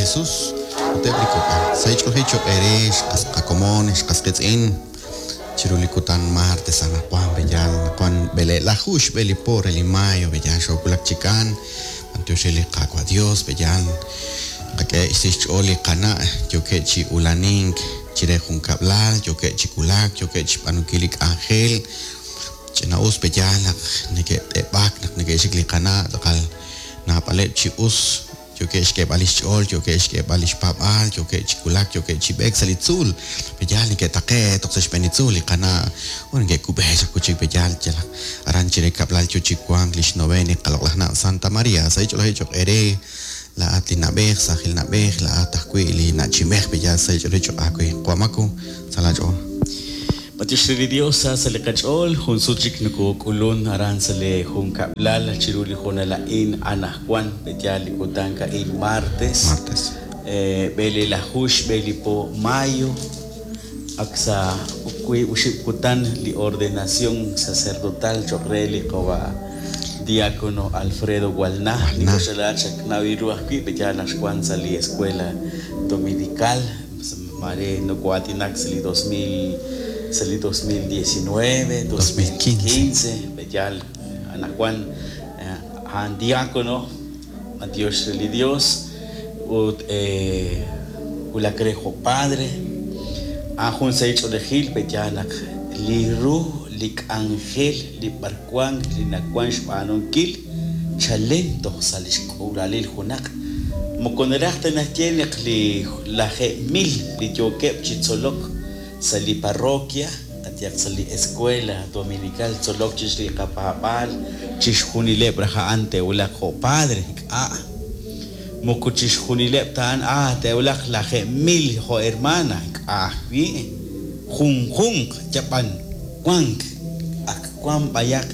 Jesus ut eb' li kok'al. Sa' xch'oolej cho'q eere xqas qakomon, xqas qiitz'in chiru li kutan martes anaqwan b'eyal anaqwan b'eleelaju xb'e li po re li mayo b'eyal xoowulak chi kaan b'antiox re li Qaawa' Dios b'eyal qak'e xsi xch'ool li qana' yookeb' chi ulanink chire junkab'lal yookeb' chi wulak yookeb' chi xb'aanunkil li k'anjel ch'ina'us b'eyal naq neke't'eb'ak naq neke'xik li qana' tz'aqal naab'aleb' chi us yookeb' xk'eeb'al li xch'ool yookeb' xk'eeb'al li xpaab'aal yookeb' chi wulak yookeb' chi b'eek sa' li tzuul b'eyal neke'taqe'k toj sa' xb'een li tzuul li qana' ut neke'kub'e chaq wi' chik b'eyal yalaq aran chire kab'lal yo chi wank li xnoveen li qaloq'laj na' Santa Maria sa' xch'oolej cho'q eere laa'at li na'b'ej saajil na'b'ej laa'at ajwi' li na'chimej b'eyal sa' xch'oolej cho'q aawe Wamaku sa' laach'ool. B'antiox re li Dios sa sa' li qach'ool, jun sut chik nokok'ulun aran sa' li junkab'lal chiru li hoonal a'in anaqwan, b'eyal li kutan a'in martes, Martes. b'eleelaju xb'e li po mayo, ak sa' wiib' oxib' kutan li ordenación sacerdotal cho'q re li qawa' diácono Alfredo Gualná, li Gualná. koxala chaknaw ru ajwi' b'eyal naq xwank sa' li escuela dominical, maare noko'aatinak sa' li 2000 sa' li 2019, 2015, b'eyal anaqwan a'an diácono, b'antiox re li Dios ut wulak re jo' padre, a'an jun sahil ch'oolejil b'eyal naq li ru li k'anjel li b'arwank li nawank xb'aanunkil chalen toj sa' li xk'uulalil junaq moko naraj ta naxye naq li lajeeb' mil li yookeb' chi tzolok sa' li parroquia qayehaq sa' li escuela dominical tzolok chix li qapaab'aal chixjunileb' raj a'an te'wulaq jo' padre ink'a' moko chixjunileb' ta a'an te'wulaq lajeeb' mil jo' hermana ink'a' ajwi' junjunq yab'an wank ak wank b'ayaq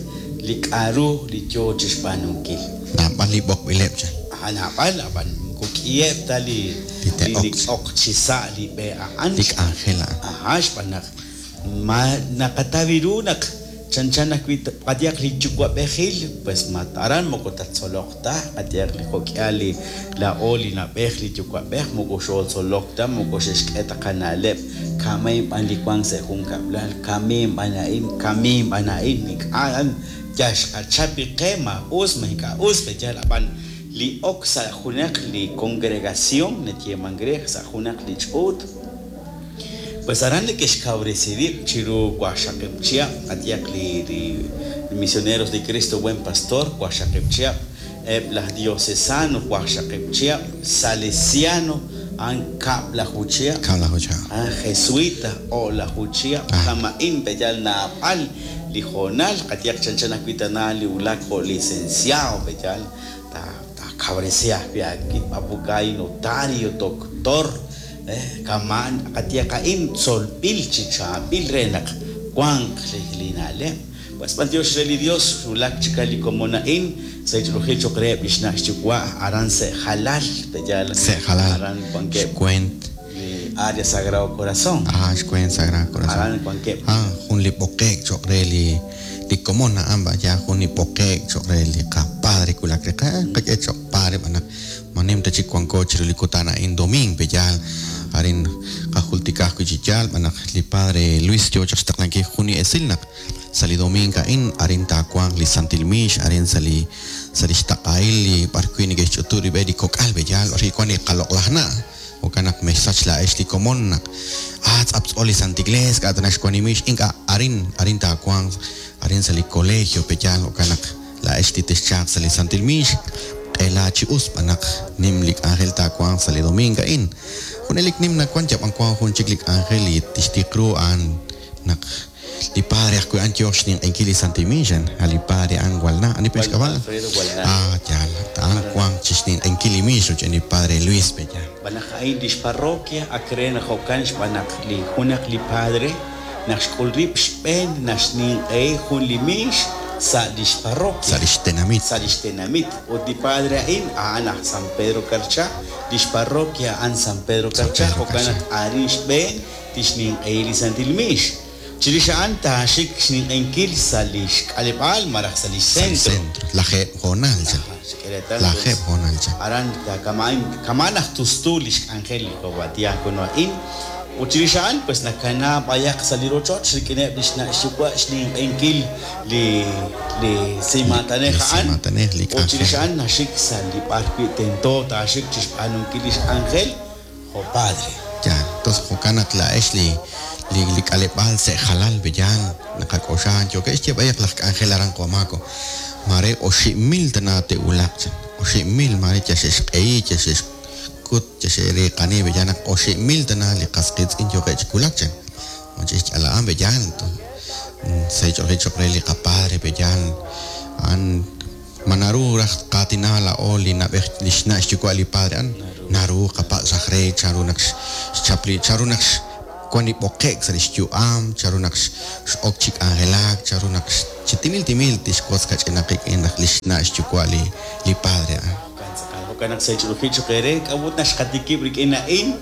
li k'a'ru li yo chi xb'aanunkil. Naab'al li b'oqb'ileb' chan. Naab'al ab'an moko k'iheb' ta li Li te'ok. li ok chi sa' li b'e a'an. Li k'anjel a'an. Ajá, xb'aan naq ma naqataw ru naq chanchan ajwi' qayehaq li yuwa'b'ejil pues ma aran moko tattzoloq ta qayehaq li jo'k'ihal li laa'o li na'b'ej li yuwa'b'ej moko xootzolok ta moko xe'xk'e ta qana'leb' ka'main b'an li wank sa' junkab'lal kamiin b'an a'in kamiin b'an a'in ink'a' a'an yal xqachap li qe ma us ma ink'a' us b'eyal ab'an li ok sa' junaq li congregación nayeemank re sa' junaq li ch'uut pues aran neke'xkawresi rib' chiru waqxaqib' chihab' qayehaq li li misioneros de Cristo Buen Pastor waqxaqib' chihab' eb' laj diocesano waqxaqib' chihab' salesiano a'an kab'laju chihab' Kab'laju chihab'. a'an jesuita o'laju chihab' kama'in b'eyal naab'al li hoonal qayehaq chanchan ajwi' tana li wulak jo' licenciado b'eyal taakawresi ajwi' aawib' abogado notario doctor kama' qayehaq a'in tzolb'il chi chaab'il re naq wanq li na'leb' pues b'antiox re li Dios wulak chik li komon a'in sa' xch'oolej cho'q reheb' li xna' xyuwa' aran sa' Jalal b'eyal Sa' Jalal. aran wankeb' Xweent. li área Sagrado Corazón Xweent Sagrado Corazón. Aran wankeb' Jun li b'oqe'k cho'q re li li komon a'an b'aya jun li b'oqe'k cho'q re li qapadre wulak re qak'e cho'q padre b'an naq ma nim ta chik wanko chiru li kutan a'in domingo b'eyal arin qajultika ajwi' chi yaal b'an naq li padre Luis yo chaq xtaqlankil jun li esil naq sa' li domingo a'in arin taawanq li Santil Miix arin sa' li sa' li xtaq'ahil li b'arwi' neke'xch'utu rib'e li kok'al b'eyal b'arwi' wank li qaloq'laj na' jo'kan naq mexsach laa'ex li komon naq tz'aptz'o li Santa Iglesia k'a' tana xwank li miix ink'a' arin arin taawanq arin sa' li colegio b'eyal jo'kan naq laa'ex li texchaaq sa' li Santil Miix q'ela chi us b'an naq nim li k'anjel taawanq sa' li domingo a'in junelik nim nawank yab'an wank jun chik li k'anjel li tixtiq ru a'an naq li padre ajwi' a'an yooq xninq'ehinkil li Santil Miix a li padre a'an Gualná ani pe xk'ab'a' Alfredo Gualná. Yaal a'an wank chi xninq'ehinkil li miix rochb'een li padre Luis b'eyal B'an naq a'in li xparroquia ak re naq jo'kan xb'aan naq li junaq li padre naq xk'ul rib' xb'een naxninq'ehi jun li miix sa' li xparroquia sa' li xtenamit sa' li xtenamit ut li padre a'in a'an aj San Pedro Carchá li xparroquia a'an San Pedro Carchá Pedro jo'kan naq arin xb'een tixninq'ehi li Santil Miix chirix a'an taaxik xninq'ehinkil sa' li xk'aleb'aal malaj sa' li sa' li xcentro centro lajeeb' hoonal chan. Xk'e reetal. Lajeeb' hoonal chan. Aran kama'an kama'an naq tustu li xk'anjel li qawa' diácono a'in. Ut chirix a'an pues nakana b'ayaq sa' li rochoch rik'ineb' li xna' xyuwa' xninq'ehinkil li li simaatanej Li a'an. simaatanej, li Ut chirix k'anjel. a'an naxik sa' li b'ar wi' tento taaxik chixb'aanunkil li xk'anjel jo' padre. Yaal. Entonces jo'kan naq laa'ex li li li k'aleb'aal sa' jalal pe yaal naqak'oxla yookeb' xye b'ayaq laj k'anjel aran Qomako maare 5,000 tana te'wulaq chan. 5,000 maare yal xe'xq'ehi, yal xe'xkut, yal xe'riiqani pe yaal naq 5,000 tana li qas qiitz'in yookeb' chi wulak chan. Chixch'ala'an pe yaal. Sa' ch'oolej choq' re li qapadre pe yaal. A'an ma naru raj qaatina laa'o li na'b'ej li xna' xyuwa' li padre a'an naru qapatz' raj re chanru naq xchap li chanru naq wan li b'oqe'k sa' li xyu'am, chanru naq x'ok chi k'anjelak, chanru naq chi timil timil tixwotz kach'inaq qik'in raj li xna' xyuwa' li li padre a'an. Jo'kan tz'aqal, jo'kan naq sa' ch'oolej choq' eere k'a'ut naq xqatikib' rik'in a'in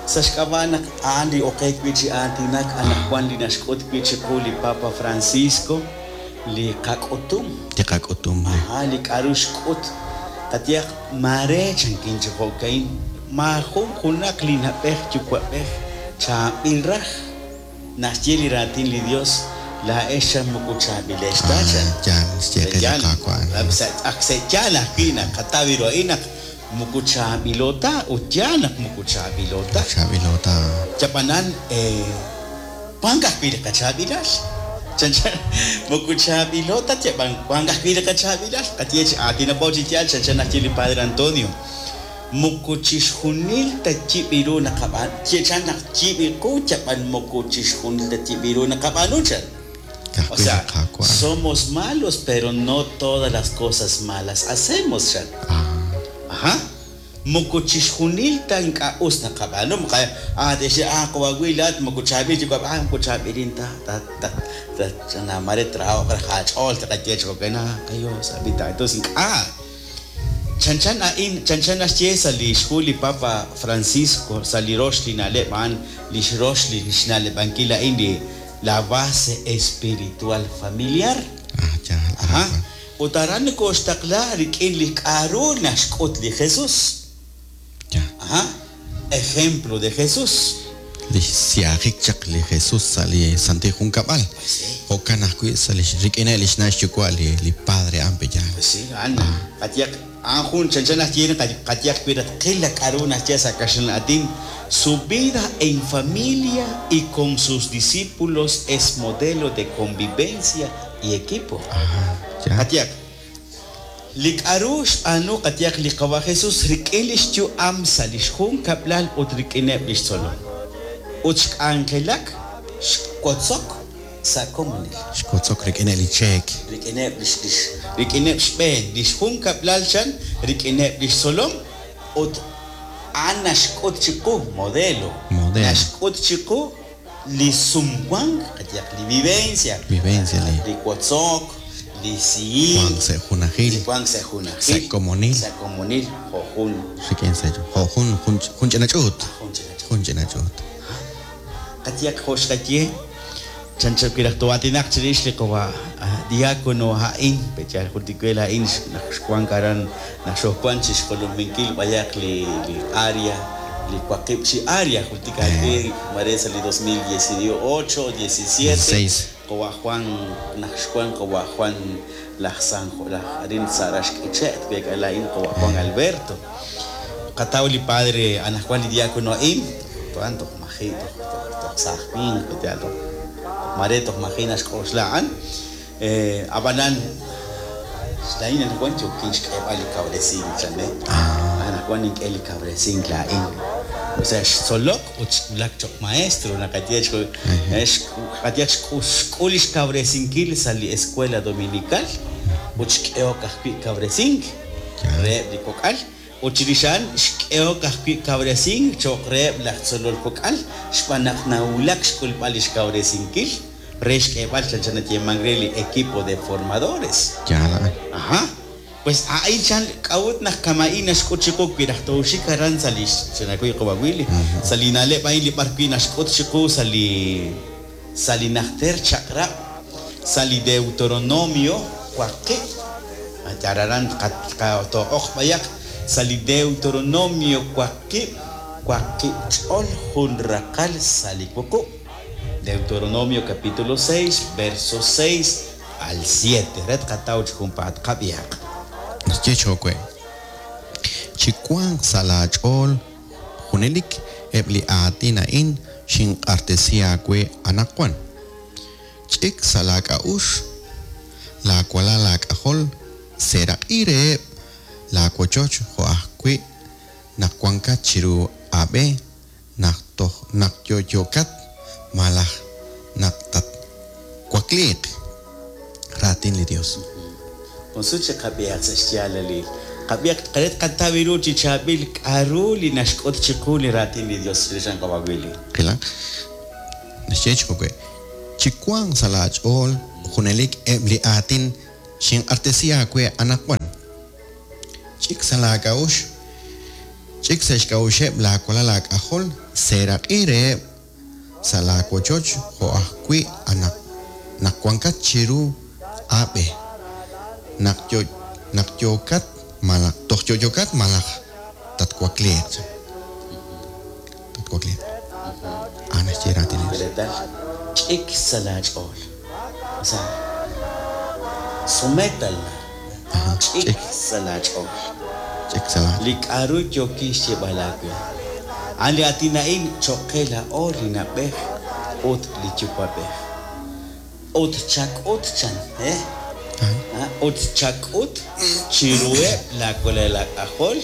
sa' xk'ab'a' naq a'an li oqeek wi' chi aatinak anaqwan li naxk'ut wi' chiqu li Papa Francisco li qak'utum. Li qak'utum. Ajá, li k'a'ru xk'ut. Qayehaq maare chankin chi jo'ka'in maajun junaq li na'b'ej yuwa'b'ej chaab'il raj naxye li raatin li Dios laa'ex chan moko chaab'ilex ta chan. Yaal, xye qe li Qaawa'. Ak sa' yaal ajwi' naq qataw ru a'in naq moko chaab'ilo ta ut yaal naq moko chaab'ilo ta. Chaab'ilo ta. Yab'anan wank ajwi' li qachaab'ilal. Chanchan moko chaab'ilo ta yab'an wank ajwi' li qachaab'ilal. Qaye chi aatinaqo chi yaal chanchan naxye li Padre Antonio. Moko chixjunil ta yib' ru naqab'aanu. Chan naq yib' qu yab'an moko chixjunil ta yib' ru naqab'aanu chan. O Ka'ajwi' li sea, Qaawa'. somos malos, pero no todas las cosas malas hacemos, chan. Ajá. Moko chixjunil ta ink'a' us naqab'aanu. Moko te'xye qawa' wi' laat moko chaab'il yuwa'b'ej, moko chaab'ilin ta ta ta ta chana mare traoq raj aach'ool taqaye chi jo'kan, kayo sabi ta. Entonces ink'a'. Chanchan a'in, chanchan naxye sa' li xhu li Papa Francisco, sa' li rox li na'leb' a'an, li xrox li xna'leb'ankil a'in li la base espiritual familiar. Yaal. Ajá. Ut aran nokoxtaqla rik'in li k'a'ru naxk'ut li Jesús. Yaal. Ajá. Ejemplo de Jesús. Li xsiajik chaq li Jesús sa' li Santil Junkab'al. Pues sí. Jo'kan ajwi' sa' li rik'ineb' li xna' xyuwa' li li padre a'an pe yaal. Pues sí, a'an qayehaq a'an jun chanchan naxye qayehaq wi' qil la k'a'ru naxye sa' kaxlan aatin. Su vida en familia y con sus discípulos es modelo de convivencia y equipo. Yaal. Qayehaq li k'a'ru xb'aanu qayehaq li qawa' Jesús rik'in li xyu'am sa' li xjunkab'lal ut rik'ineb' li xtzolom. Ut xk'anjelak xwotzok sa' komonil. Xwotzok rik'ineb' li cheek. Rik'ineb' li rik'ineb' xb'een li xjunkab'lal chan rik'ineb' li xtzolom ut a'an naxk'ut chiqu modelo. Modelo. Naxk'ut chiqu li sumwank qayehaq li vivencia. Vivencia li Li wotzok, li siik, wank sa' junajil. li wank sa' junajil. Sa' komonil. Sa' komonil jo' jun Rik'in sa' jo' jun jun jun ch'ina ch'uut. jun ch'ina ch'uut. Jun ch'ina ch'uut. Qayehaq jo' xqaye chanchan wi' raj too'aatinaq chirix li qawa' diácono a'in pechal jultik we a'in naq xwank aran naq xojwan chi xjolominkil b'ayaq li li área li waqib' chi área jultik ajwi' mare sa' li 2018 17 16. qawa' Juan naq xwan qawa' Juan laj San laj arin sa' Raxk'iche' tweek'a la'in qawa' Juan Alberto. Qataw li padre anaqwan li diácono a'in to'an toj maji' toj toj toj saaj winq pechal toj mare toj maji' naxk'oxla a'an. Ab'anan xla'in anaqwan yokin xk'eeb'al li kawresink chan, Anaqwan nink'e li kawresink la'in. O sea, xtzolok ut xwulak choq' maestro naqaye qayehaq xk'ul li xkawresinkil sa' li escuela dominical ut xk'ehok ajwi' kawresink reheb' li kok'al ut chirix a'an xk'ehok ajwi' kawresink cho'q reheb' laj tzolol kok'al xb'aan naq nawulak xk'ulb'al li xkawresinkil re xk'eeb'al chanchan nayeeman re li equipo de formadores. Yaal a'an. Ajá. Pues a'in chan k'a'ut naq kama'in naxk'ut chiqu wi' raj tooxik aran sa' li xchanakuy qawa' Willy sa' li na'leb' a'in li b'ar wi' naxk'ut chiqu sa' li sa' li najter chaq'rab' sa' li Deuteronomio waqib' Yararan too'oq b'ayaq sa' li Deuteronomio waqib' waqib' ch'ol jun raqal sa' li wuqub'. Deuteronomio capítulo 6, verso 6 al 7. Re tqataw chi junpaat qab'ihaq. Naxye cho'q we, Chiwanq sa' laach'ool junelik eb' li aatin a'in xinq'axtesi aawe anaqwan. Ch'ik sa' laak'a'uxl laawalal aak'ajol, seeraq'i reheb' laawochoch jo' ajwi' naq wankat chiru aab'e, naq toj naq yo'yo'kat malaj naq tatwakliiq. Raatin li Yos. Jun sut chik qab'ihaq sa' xyaalalil. Qab'ihaq re tqataw ru chi chaab'il k'a'ru li naxk'ut chiqu li raatin li Dios chirix a'an qawa' Willy. Qilaq. Naxye chi jo'we', Chiwanq sa' laach'ool junelik eb' li aatin xinq'axtesi aawe anaqwan. Ch'ik sa' laak'a'uxl, ch'ik sa' xk'a'uxeb' laawalal aak'ajol, seeraq'i reheb' sa' laawochoch jo' ajwi' naq wankat chiru aab'e, naq naq yookat malaj toj yo'yokat malaj tatwakliiq. Tatwakliiq. A'an naxye raatin li Yos. Reetal, ch'ik sa' laach'ool. O sea, sométala. Ch'ik sa' laach'ool. Ch'ik sa' laach'ool. Li k'a'ru yookin xyeeb'al aawe. A'an li aatin a'in cho'q qe laa'o li na'b'ej ut li yuwa'b'ej. Ut chak'ut chan, eh? Ut chak'ut chiruheb' laawalal aak'ajol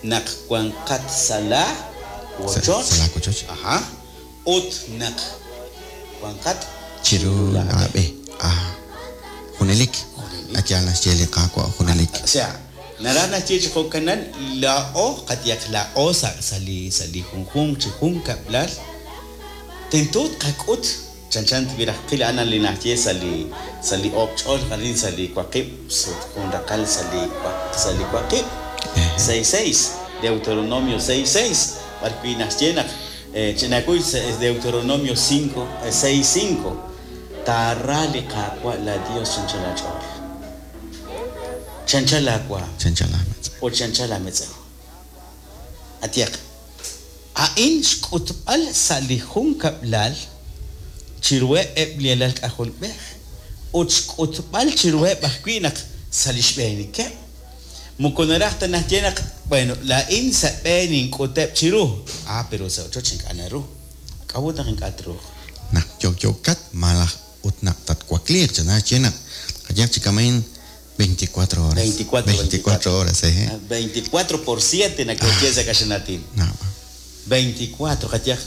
naq wanqat sa' laa wochoch. Sa' laa wochoch. Ajá. Ut naq wanqat Chiru laab'e. Ah, junelik. Yaal naxye li Qaawa' junelik. O sea, naraj naxye chi jo'kanan laa'o qayehaq laa'o sa' sa' li sa' li junjunq chi junkab'lal tento tqak'ut chanchan wi raj tqil a'an li naxye sa' li sa' li oob' ch'ol arin sa' li waqib' sut jun raqal sa' li sa' li waqib' 6:6 Deuteronomio 6:6 b'ar wi' naxye naq chinakuy Deuteronomio 5 6:5 taara li Qaawa' laa Dios chi anchal aach'ool, chi anchal aawaanm Chi anchal aametz'ew. ut chi anchal aametz'ew. Qayehaq, a'in xk'utb'al sa' li junkab'lal chiruheb' eb' li alal k'ajolb'ej ut xk'utb'al chiruheb' ajwi' naq sa' li xb'eenikeb'. Moko naraj ta naxye naq, bueno, laa'in sa' b'e nink'uteb' chiru. Ah, pero sa' ochoch ink'a' naru. K'a'ut naq ink'a' truuq? Naq yo'yokat malaj ut naq tatwakliiq, chan naxye naq qayehaq chi kama'in 24 horas. 24, 24 horas, ehe. 24 por 7 nake'xye sa' kaxlanaatin. Naab'al. 24, qayehaq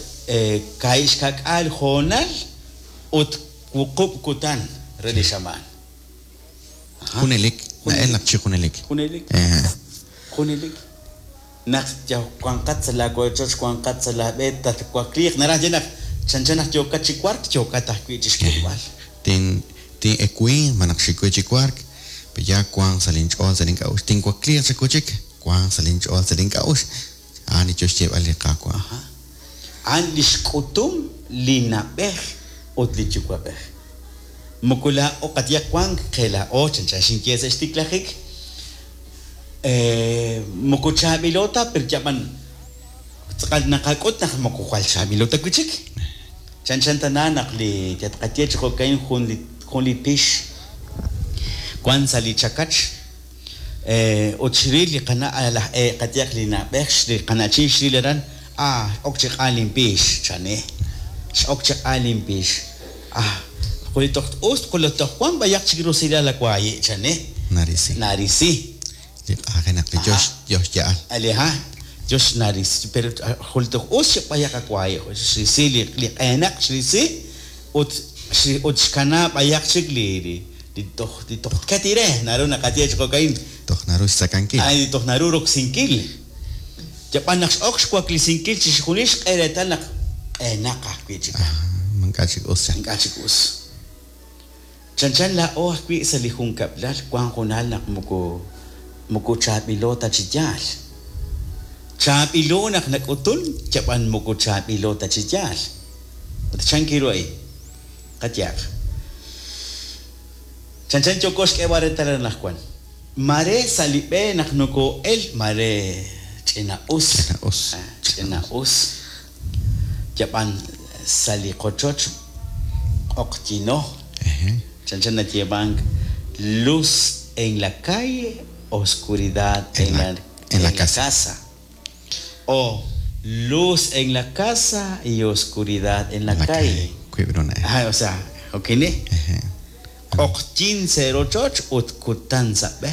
kaahib' xka'k'aal hoonal ut wuqub' kutan re li xamaan. Junelik, na'el naq chi junelik. Junelik. Junelik. Naq yal wanqat sa' laawochoch, wanqat sa' laab'e, tatwakliiq. Naraj ye naq chanchan naq yookat chi wark, yookat ajwi' chi xk'ulb'al. Tin tin'ewinq malaj xik we chi wark, pe ya wanq sa' linch'ool sa' link'a'uxl. Tinwakliiq chik wi' chik, wanq sa' linch'ool sa' link'a'uxl. A'an li yo xyeeb'al li Qaawa'. A'an li xk'utum li na'b'ej ut li yuwa'b'ej. Moko laa'o qayehaq wank qe laa'o chanchan xinye sa' xtiklajik, moko chaab'ilo ta pero yab'an tz'aqal naqak'ut naq moko jwal chaab'ilo ta wi' chik. Chanchan tana naq li yatqaye chi jo'ka'in jun li jun li pix wank sa' li chakach ut xril li qana' laj qayehaq li na'b'ej li qana'chin xril aran, ah x'ok chi q'an linpix chane, x'ok chi q'an linpix. Ah, quli toj us quli toj wank b'ayaq chik rusilal la waayi' chane. Narisi. Narisi. Li q'ajenaq li yo yo xya'al. Ali ha, yo xnarisi, pero quli toj us chik b'ayaq awaayi' xrisi li li q'eenaq xrisi ut ut xkana b'ayaq chik li li li toj li toj tket ire naru naqaye chi jo'ka'in. Toj naru xtzakankil. Ay, toj naru roksinkil. Yab'an naq x'ok xwaklisinkil chixjunil xk'e reetal naq q'eenaq ajwi' chik. Ink'a' chik us chan. Ink'a' chik us. Chanchan laa'o ajwi' sa' li junkab'lal wank hoonal naq moko moko chaab'ilo ta chi yaal. Chaab'ilo naq nak'utun, yab'an moko chaab'ilo ta chi yaal. Ut chan kiru a'in? Qayehaq. Chanchan yooko xk'eeb'al reetal anaqwan. Mare sa' li b'e naq nokoo'el mare ch'ina'us. Ch'ina'us. Ch'ina'us. Yab'an sa' li qochoch q'oqyino. Chanchan nayeemank luz en la calle, oscuridad en la, en la casa. O luz en la casa y oscuridad en la, calle. Wiib' ru na'ej. Ajá, o sea, okini. Q'oqyin sa' rochoch ut kutan sa' b'e.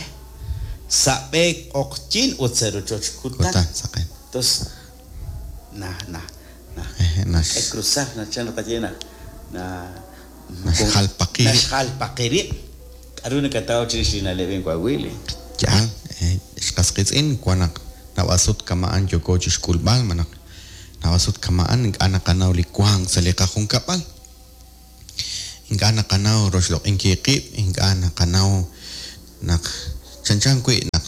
Sa' b'e q'oqyin ut sa' rochoch kutan. Kutan saqen. Entonces, na, na, na. Eje, nax- K'e cruzar, na chan qaye na, na. Naxjalpaqi rib'. Naxjalpaqi rib'. K'a'ru nakataw chirix li na'leb' in Coahuila? Yaal, xqas qiitz'in wan naq naab'al sut kama'an yooko chixk'ulb'al malaj naab'al sut kama'an ink'a' naqanaw li wank sa' li qajunkab'al. Ink'a' naqanaw roxloq'inkil qib', ink'a' naqanaw naq chanchan wi' naq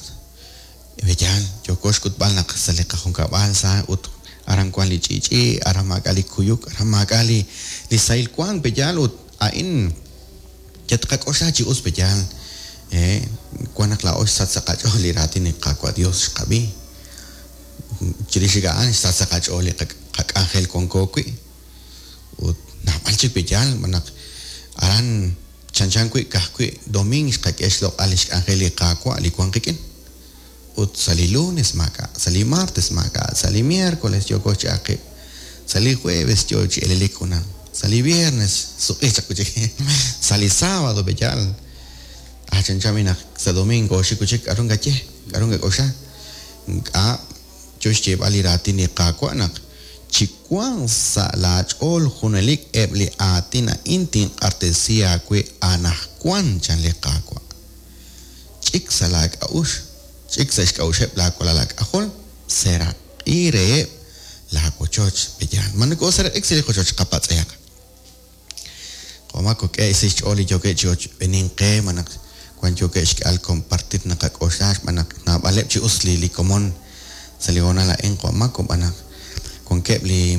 yaal yooko xk'utb'al naq sa' li qajunkab'al sa ut aran wan li ch'i'ch'i', aran maak'a' li kuyuk, aran maak'a' li li sahil wank pe'yaal ut a'in yatqak'oxla chi us pe'yaal wan naq laa'o xsach sa' qach'ool li raatin li Qaawa' Dios xqab'i. Chirix chik a'an xsach sa' qach'ool li qak'anjel wanko wi'. Ut naab'al chik pe'yaal naq aran chanchan wi' ka'ajwi' domingo xqak'e xloq'al li xk'anjel li Qaawa' li wan qik'in. Ut sa' li lunes maak'a', sa' li martes maak'a', sa' li miércoles yooko chi aqib', sa' li jueves yo chi elelik junaq, sa' li viernes suq'i chaq wi' chik, sa' li sábado pe'yaal. Ah, chanchan wi' naq sa' domingo xik wi' chik k'a'ru nkaye, k'a'ru nkak'oxla. Ink'a' yo xyeeb'al li raatin li Qaawa' naq chiwanq sa' laach'ool junelik eb' li aatin a'in tinq'artesi aawe anaqwan chan li Qaawa'. Ch'ik sa' laak'a'uxl, ch'ik sa' xk'a'uxeb' laawalal aak'ajol, seraq'i reheb' laawochoch pe'yaal. Ma nokooseraq'ik sa' li qochoch qapatz'ehaq. Q'omaq kok'e' sa' xch'ool li yookeb' chi ochb'eenink qe malaj wan yookeb' xk'al compartir naqak'oxla xb'aan naq naab'aleb' chi us li li komon sa' li hoonal a'in q'omaq xb'aan naq wankeb' li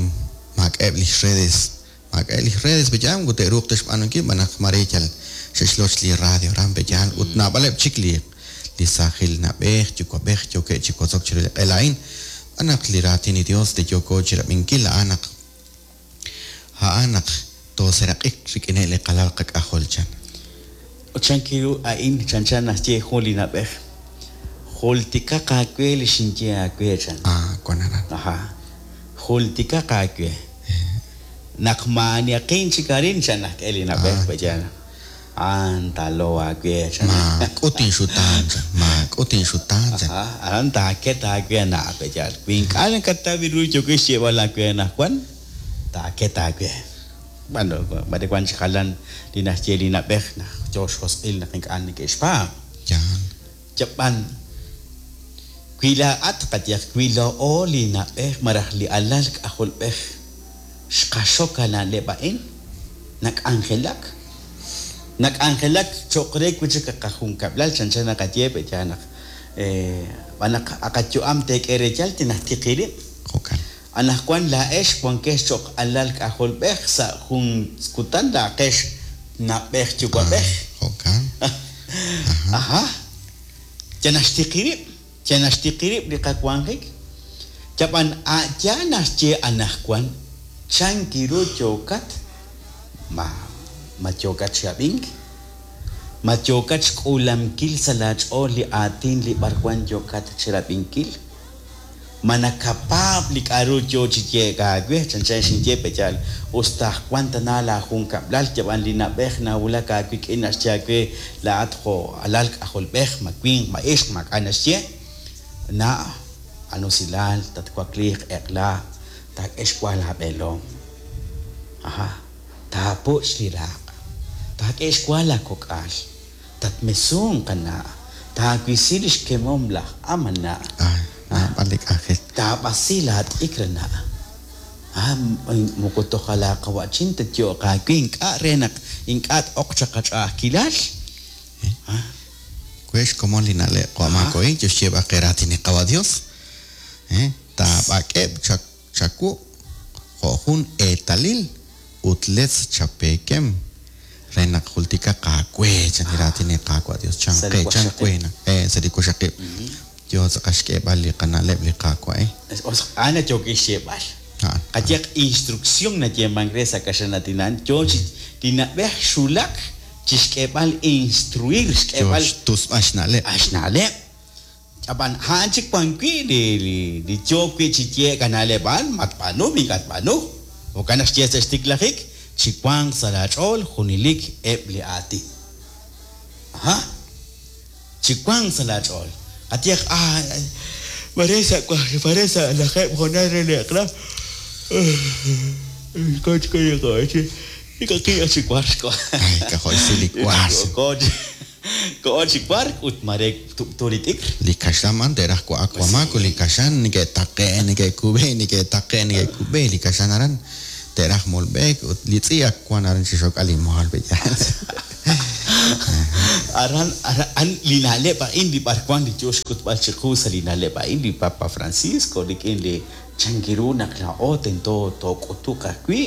maak'a'eb' lix redes, maak'a'eb' lix redes pe'yaal moko te'ruuq ta xb'aanunkil xb'aan naq mare yal xe'xloch li radio aran pe'yaal ut naab'aleb' chik li li saajil na'b'ej yuwa'b'ej yookeb' chi wotzok chiru li q'ela a'in xb'aan naq li raatin li Dios li yooko chirab'inkil a'an naq a'an naq tooseraq'ik rik'ineb' li qalal qak'ajol chan. Ut chankiru a'in chanchan naxye jun li na'b'ej. Jultikaq aawe li xinye aawe chan. Ah, wan aran. Ajá. Jultikaq aawe. Naq maaniaqin chik arin chan najk'e li na'b'ej pe'yaal. A'an taalow aawe chan. Maak'ut inxutaan chan, maak'ut inxutaan chan. Ajá, aran taaket aawe ana' pe'yaal. Wi ink'a' nakataw ru yookin xyeeb'al aawe anaqwan, taaket aawe. Bueno, mare wan chi jalan li naxye li na'b'ej naq yo xjosq'il naq ink'a' neke'xpaab'. Yaal. Yab'an wi laa'at qayehaq wi laa'o li na'b'ej malaj li alal k'ajolb'ej xqaxok a na'leb' a'in, nak'anjelak. Nak'anjelak cho'q re wi' chik qajunkab'lal chanchan naqaye pe'yaal naq b'an naq aqayu'am teek'e reetal tinajtiqi rib'. Jo'kan. Anaqwan laa'ex wankex cho'q alal k'ajolb'ej sa' jun kutan laa'aqex na'b'ej yuwa'b'ej. Jo'kan. Ajá. Ya naxtiqi rib', ya naxtiqi rib' li qawanjik. Yab'an a'ya naxye anaqwan chankiru yookat ma ma yookat chi ab'ink, ma yookat xk'uulankil sa' laach'ool li aatin li b'arwan yookat chirab'inkil. Ma nakapaab' li k'a'ru yo chi yeek aawe, chanchan xinye pe'yaal, us ta wan tana laajunkab'lal yab'an li na'b'ej nawulak aawik'in naxye aawe laa'at jo' alal k'ajolb'ej, ma winq, ma ixq, maak'a' naxye. Na' anusilal tatwakliiq eq'la taak'e xwa laab'eelom. Ajá, taapuch' li raq', taak'e xwa laakok'al, tatmesunq ana', taawisi li xkemom laj am ana'. Ah, naab'al li k'anjel. Taab'asi laat'ikr ana'. Ah, moko toj laaqawa'chin tatyo'q aawe ink'a' re naq ink'a' t'oq chaq qach'a'ajkilal. Ah, We xkomon li na'leb' q'omaq ohin yo xyeeb'al qe raatin li Qawa' Dios. Taab'ak'eb' chawu jo' jun eetalil ut letz chapeekem Re naq jultikaq aawe chan li raatin li Qaawa' Dios chan Sa' li qe chan waqxaqib'. we naq sa' li waqxaqib'. Yo tz'aqal xk'eeb'al li qana'leb' li Qaawa' eh. A'an yookin xyeeb'al. A'an. Qayehaq instrucción nayeemank re sa' kaxlan aatin a'an yo chi li na'b'ej xwulak chixk'eeb'al instruir Yo xk'eeb'al xtusb'al xna'leb'. a xna'leb'. Ab'an a'an chik wan wi' li li li yo wi' chi yeek a na'leb' a'an matb'aanu ink'a' tb'aanu. Jo'kan naq xye sa' xtiklajik chiwanq sa' laach'ool junelik eb' li aatin. Aha. Chiwanq sa' laach'ool. Qayehaq ah mare sa' mare sa' lajeeb' hoonal re li eq'la ko chi ink'a' chi wark. Ay, k'ajo' xsi li wark. Koho chi wark ut mare tub'tu li t'ikr. Li kaxlan a'an te'raj wa'ak wamaak ut li kaxlan neke'taqe' neke'kub'e neke'taqe' neke'kub'e li kaxlan aran te'raj molb'eek ut li tz'i' ak wan aran chixok'al li mol pe'yaal. Aran aran li na'leb' a'in li b'arwan li yo xk'utb'al chiqu sa' li na'leb' a'in li Papa Francisco rik'in li chankiru naq laa'o tento took'utuq ajwi'.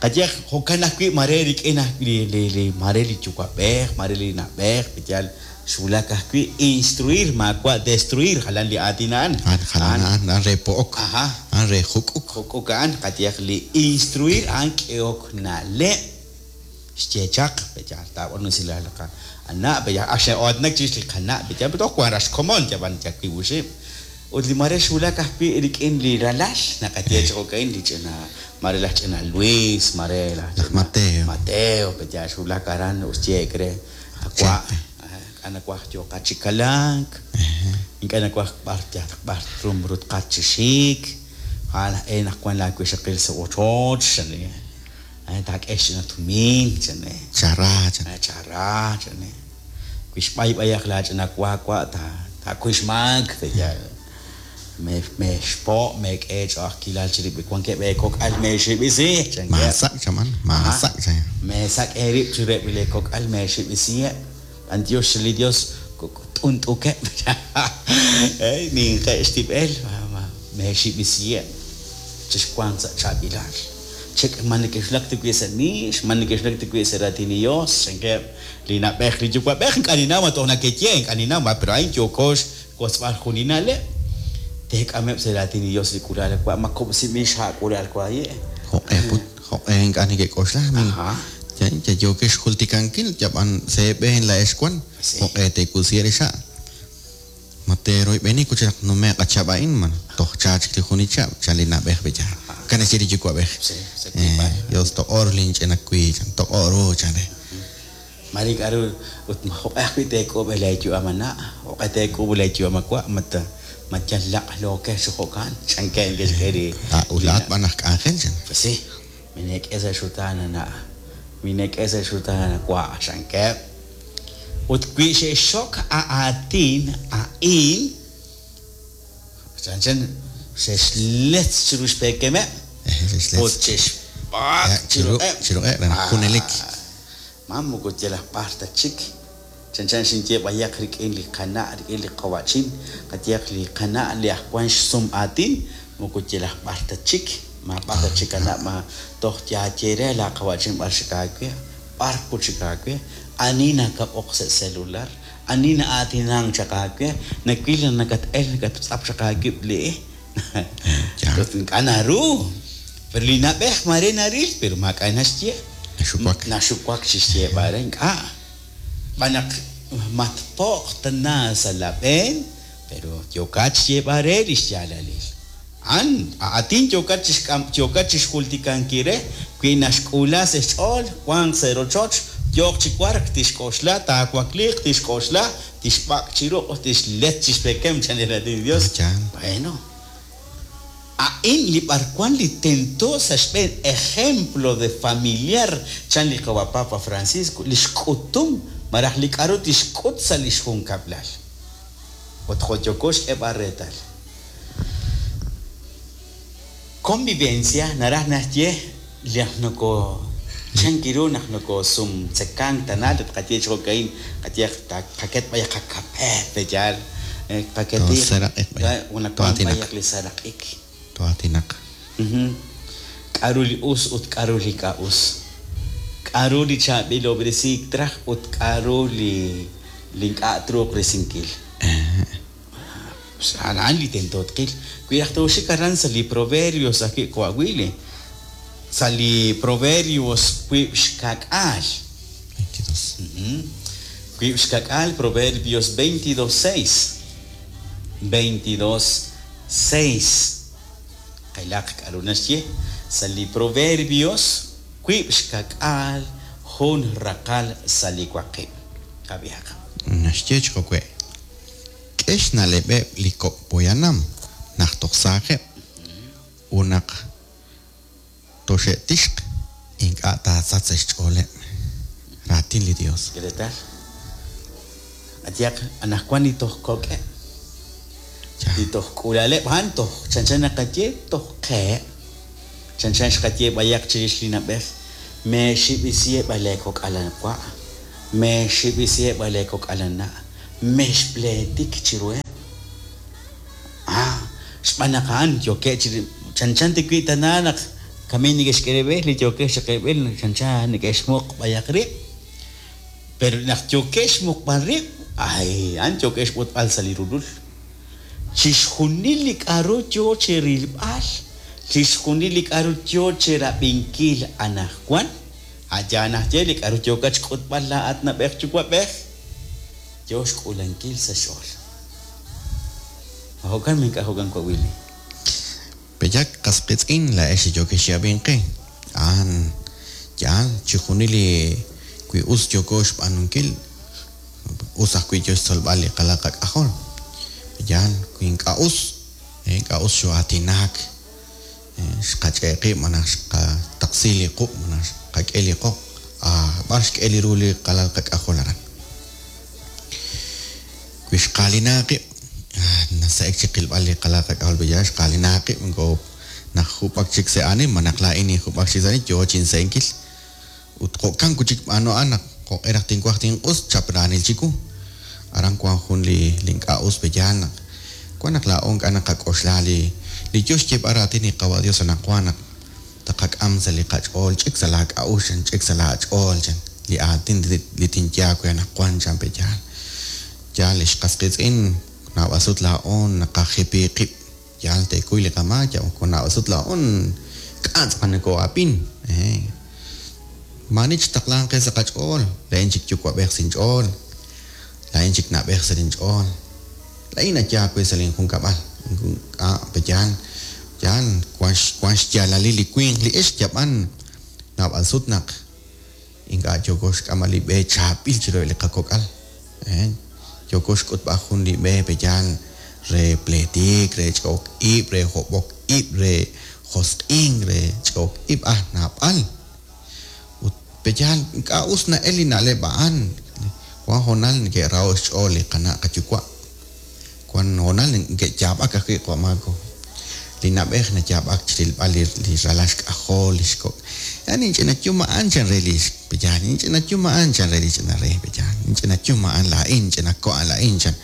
Qayehaq jo'kan ajwi' mare rik'in li li li mare li yuwa'b'ej mare li na'b'ej pe'yaal xwulak ajwi' instruir maawa' destruir jalan li aatin a'an. A'an jalan a'an a'an re po'ok. Aha. A'an re juk'uk. Juk'uk a'an qayehaq li instruir a'an k'ehok na'leb'. Xye chaq pe'yaal taab'aanu usilal li qana' pe'yaal ak xe'aatinak chirix li qana' pe'yaal pero toj wan raj xkomon yab'an yal wiib' oxib'. Ut li mare xwulak ajwi' rik'in li ralal naqaye chi jo'ka'in li ch'ina mare laj ch'ina Luis mare laj Laj ch'ina Mateo. Mateo pe'yaal xwulak aran ut xyeek re awa' ink'a' nawaj yooqat chi kalank ink'a' nawaj b'ar yalaq b'ar rumrutqat chi xik a'an aj e naq wan laawixaqil sa' ochoch chan taak'e xch'ina tumin chan Chara chan. Chara chan wi xb'ay b'ayaq laach'ina wa wa' ta taakuy xmaak pe'yaal meexpo' meek'e ch'a'ajkilal chirib' wankeb' eekok'al meexib'isi chankeb'. Maasak' chaman maasak' chan. Meesak' eerib' chireb' li kok'al meexib'isiheb'. B'antiox li Dios t'unt'ukeb'. Ninqe' xtib'el meexib'isiheb' chixwanq sa' chaab'ilal. Chek ma neke'xwulak ta wi' sa' miix, ma neke'xwulak ta wi' sa' raatin li Dios, chankeb' li na'b'ej li yuwa'b'ej ink'a' ninnaw ma toj nakeye ink'a' ninnaw ma pero a'in yooko xwotzb'al jun li na'leb'. Teek'ameb' sa' raatin li Dios li k'ulal wa' ma kub'sinb'il xha' k'ulal waye'. Jo'q'e put jo'q'e ink'a' neke'k'oxla mi Aha. ya yookex xjultikankil yab'an sa' eeb'een laa'ex wan jo'q'e teekub'si li xha'. Ma teeroyb'eni ut naq nume'q a chihab' a'in ma toj cha chik li jun li chihab' chan li na'b'ej pe'yaal. Jo'kan naxye li yuwa'b'ej. Sí, sa' wiib'al. Dios toq'or linch'ina wiiq chan toq'or ru chan re. Mare k'aru ut jo'q'e ajwi' teek'uub' leeyu'am ana' jo'q'e teek'uub' leeyu'am awa' mat ma yal laq'lookex chi jo'kan chankeb' ke'xk'e li Ah, ut laa'at b'an aj k'anjel chan. Pues sí, mineek'e sa' xutaan ana' mineek'e sa' xutaan awa' chankeb'. Ut wi xe'xxok a aatin a'in chanchan xe'xletz chiru xpeekemeb' Xe'xletz. ut xe'xb'ak chiruq'eb'. Chiruq'eb' re naq junelik. Ma moko yalaq b'ar ta chik. Chanchan xinye b'ayaq rik'in li qana' rik'in li qawa'chin qayehaq li qana' li aj wan xsum aatin moko yalaq b'ar ta chik. Ma b'ar ta chik ana' ma toj yaaye re la qawa'chin b'ar xik aawe b'ar put xik aawe ani nakab'oq sa' celular ani na'aatinank chaq aawe nawil naq nakat'el nakattz'ap chaq aawib' li Ya. Ut ink'a' naru. Pero li na'b'ej mare naril pero maak'a' naxye. Naxuwak. Naxuwak chi xyeeb'al re ink'a'. B'an naq matpo'q tana sa' la b'een pero yookat xyeeb'al re li xyaalalil. A'an aatin yookat chixk'am yookat chixjultikankil re wi naxk'uula sa' xch'ool wanq sa' rochoch yooq chi wark tixk'oxla taawakliiq tixk'oxla tixb'ak' chi ruq' tixletz chixpekem chan li raatin li Dios. Chan. Bueno. A'in li b'arwan li tento sa' xb'een ejemplo de familiar chan li qawa Papa Francisco li xk'utum malaj li k'aru tixk'ut sa' li xjunkab'lal. Ut jo' yooko xk'eeb'al reetal. Convivencia naraj naxye naq noko chankiru naq nokosumtzekank tana tqaye chi jo'ka'in qaye qaket b'ayaq qakape pe'yaal qaketi Toseraq'ik b'ayaq. nawank Toatinaq. b'ayaq li seraq'ik. Toatinaq. K'aru li us ut k'aru li ink'a' us. K'a'ru li chaab'ilob'resiik traj ut k'a'ru li li ink'a' truuq risinkil? A'an li tento tqil. Wi raj tooxik aran sa' li Proverbios ajwi' qawa' Willy, sa' li Proverbios 22. 22. 22 Proverbios 22:6. 22:6. Qilaq k'a'ru naxye sa' li Proverbios 22 jun raqal sa' li 8. Qab'ihaq. Naxye chi jo'we', K'e xna'leb'eb' li kok' poyanam naq toj saajeb', ut naq toxe'tixq ink'a' taasach sa' xch'ooleb'. Raatin li Yos. K'e reetal. Qayehaq, anaqwan li toj kok'eb', li toj k'uula'aleb' a'an toj chanchan naqaye toj qeheb'. Chanchan xqaye b'ayaq chirix li na'b'ej, Meexib'isiheb' a leekok'al wa', meexib'isiheb' a leekok'al na', mexpleetik chiruheb'. Ah, xb'aan naq a'an yookeb' chi chanchan ta wi' tana naq kami neke'xk'e reb'el li yookeb' chi qeeb'el chanchan neke'xmuq b'ayaq rib'. Pero naq yookeb' xmuqb'al rib', ay, a'an yookeb' xb'otb'al sa' li rulul. Chixjunil li k'a'ru yoo cherilb'al, chixjunil li k'a'ru yoo cherab'inkil anajwan, a' yaal najye li k'a'ru yookat xk'utb'al laa'at na'b'ej yuwa'b'ej, yoo xk'uulankil sa' xch'ool. Ma jo'kan ma ink'a' jo'kan wa' Willy? Pe'yaal qas qiitz'in laa'ex li yookex chi ab'ink qe? A'an yaal, chixjunil li wi us yooko xb'aanunkil, us ajwi' yo xtzolb'al li qalal qak'ajol. Pe'yaal wi ink'a' us, ink'a' us xoo'aatinak, xqach'e' qib' malaj xqataqsi li quq' malaj xqak'e li qoq, b'ar xk'e li ru li qalal qak'ajol aran? Wi xqaalina qib', nase'ek chi qilb'al li qalal qak'ajol pe'yaal xqaalina qib' moko naq jub'ak chik sa' aanil malaj laa'in ninjub'ak chik sa' aanil yoo chinse'enkil. Ut jo'kan wi' chik b'aanu a'an naq jo'q'e raj tinwaj tinq'us, chap raanil chiwu. Aran wank jun li li ink'a' us pe'yaal naq wan naq laa'o ink'a' naqak'oxla li li yoo xyeeb'al raatin li Qawa' Dios anaqwan naq taqak'am sa' li qach'ool, ch'ik sa' laa k'a'uxl chan, ch'ik sa' laa ch'ool chan, li aatin li tinye aawe anaqwan chan pe'yaal. Yaal ex qas qiitz'in, naab'al sut laa'o naqajipi qib'. Yaal teekuy li qamaak, yal moko naab'al sut laa'o ink'a' tz'aqal nokoo'ab'in. Maa'ani chitaqlanq qe sa' qach'ool, laa'in chik yuwa'b'ej sa' inch'ool, laa'in chik na'b'ej sa' linch'ool, laa'in nayaal we sa' linjunkab'al. Ink'a' pe'yaal, yaal wank xyaalalil li winq li ixq yab'an naab'al sut naq Ink'a' yooko xk'amb'al li b'e chaab'il chiruheb' li qakok'al. Yooko xk'utb'al jun li b'e pe'yaal re pleetik, re ch'e'ok ib', re hob'ok ib', re josq'ink, re ch'e'ok ib', ah, naab'al. Ut pe'yaal ink'a' us na'el li na'leb' a'an. Wan hoonal neke'raho' xch'ool li qana' qayuwa'. Wan hoonal neke'yaab'ak ajwi' qawa' Marco. Li na'b'ej nayaab'ak chirilb'al li li ralal xk'ajol, lix kok'. Ah, ninch'ina yum a'an chan re lix pe'yaal, ninch'ina yum a'an chan re li ch'ina re pe'yaal, ninch'ina yum a'an laa'in, ch'ina ko' a'an laa'in chan.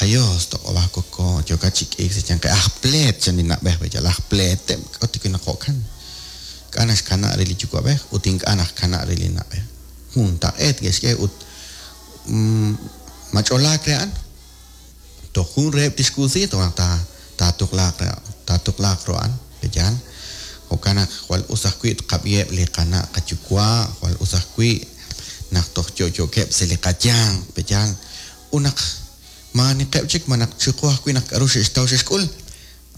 Ayos, toq'ob'a koko, yookat chi k'iik sa' xyanqeb' aj pleet chan li na'b'ej pe'yaal, aj pleeteb', k'a'ut wi naq jo'kan? Ink'a' naxkana' re li yuwa'b'ej ut ink'a' naxkana' re li na'b'ej. Juntaq'eet ke'xk'e ut ma ch'olaak re a'an? Toj jun reheb' tixk'uusi toj naq taatuqlaaq taatuqlaaq ru a'an, pe'yaal? Jo'kan naq jwal us ajwi' tqab'iheb' li qana' qayuwa', jwal us ajwi' naq toj yo'yookeb' sa' li qayanq, pe'yaal? Ut naq maaniqeb' chik malaj chiqu ajwi' naq k'aru xe'xtaw xe'xk'ul,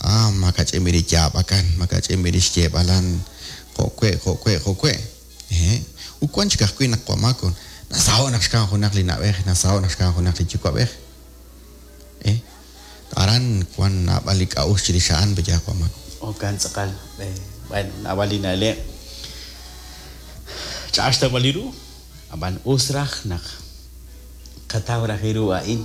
ah, makach'in b'i' li yaab'akan, makach'in b'i' li xyeeb'alan, jo' we', jo' we', jo' we'. Hehe'. Ut wan chik ajwi' naq wamako, nasaho' naq xkamk junaq li na'b'ej, nasaho' naq xkamk junaq li yuwa'b'ej. Eh. Aran wan naab'al li k'a'uxl chirix a'an, pe'yaal wamako. Jo'kan tz'aqal. Bueno, naab'al li na'leb' ch'a'aj xtawb'al li ru, ab'an us raj naq qataw raj ru a'in.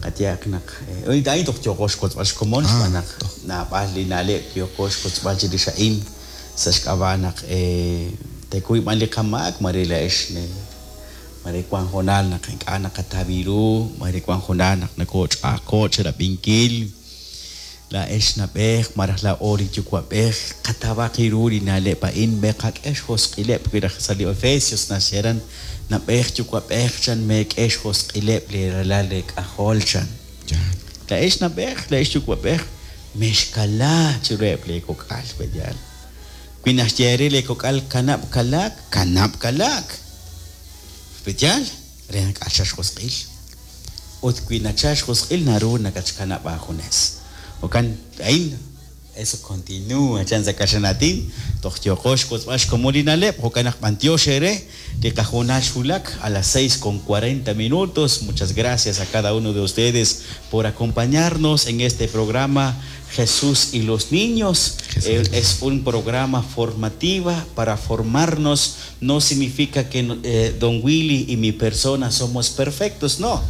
Qayehaq naq a'in toj yooqo xwotzb'al xkomon xb'aan naq naab'al li na'leb' yooqo xwotzb'al chirix a'in sa' xk'ab'a' naq teekuy b'an li qamaak, maare laa'ex maare wank hoonal naq ink'a' naqataw ru, maare wank hoonal naq nokooch'a'ajko'k chi rab'inkil. Laa'ex na'b'ej malaj laa'o li yuwa'b'ej qatawaq ru li na'leb' a'in meqak'e xjosq'ileb' wi raj sa' li Efesios naxye na'b'ej yuwa'b'ej chan meek'e xjosq'ileb' li ralal leek'ajol chan. Laa'ex na'b'ej laa'ex yuwa'b'ej mexkala chiruheb' leekok'al pe'yaal. Wi naxye re leekok'al kanab' kalaak, kanab' kalaak. Pe'yaal re naq k'axal xjosq'il. Ut wi nachal xjosq'il naru nakatxkanab' aajunes. Jo'kan a'in eso continúa chan sa' kaxlan aatin toj yooqo xwotzb'al xkomon li na'leb' jo'kan naq b'antiox eere li qahoonal xwulak a las 6:40 minutos. Muchas gracias a cada uno de ustedes por acompañarnos en este programa Jesús y los niños. Es un programa formativa para formarnos. No significa que don Willy y mi persona somos perfectos, no.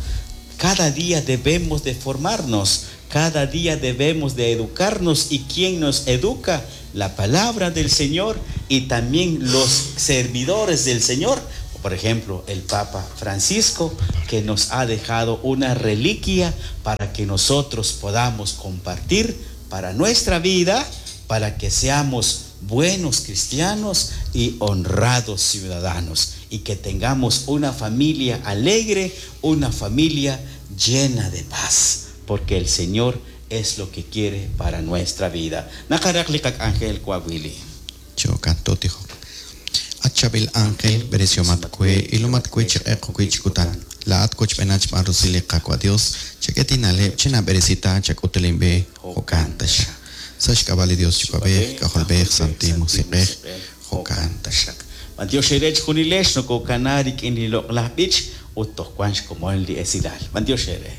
Cada día debemos de formarnos, cada día debemos de educarnos. ¿Y quién nos educa? La palabra del Señor y también los servidores del Señor. Por ejemplo, el Papa Francisco, que nos ha dejado una reliquia para que nosotros podamos compartir para nuestra vida, para que seamos buenos cristianos y honrados ciudadanos, y que tengamos una familia alegre, una familia llena de paz, porque el Señor es lo que quiere para nuestra vida. Nakarak likak Ángel Coahuili. Chocanto tijo. Achabil ángel beresiomat kue ilumat kue chiqeq kue chikutan. La at koch benach marusili kakwa Dios. Cheketinale chena beresita chakutelimbe jokantash. Sash kabali Dios chupabej, kajolbej, santi musiqej, jokantash. Bantiox erech junilex no kokanarik in li loqlaj b'ich ut toj wanx komon li esilal. Bantiox ere.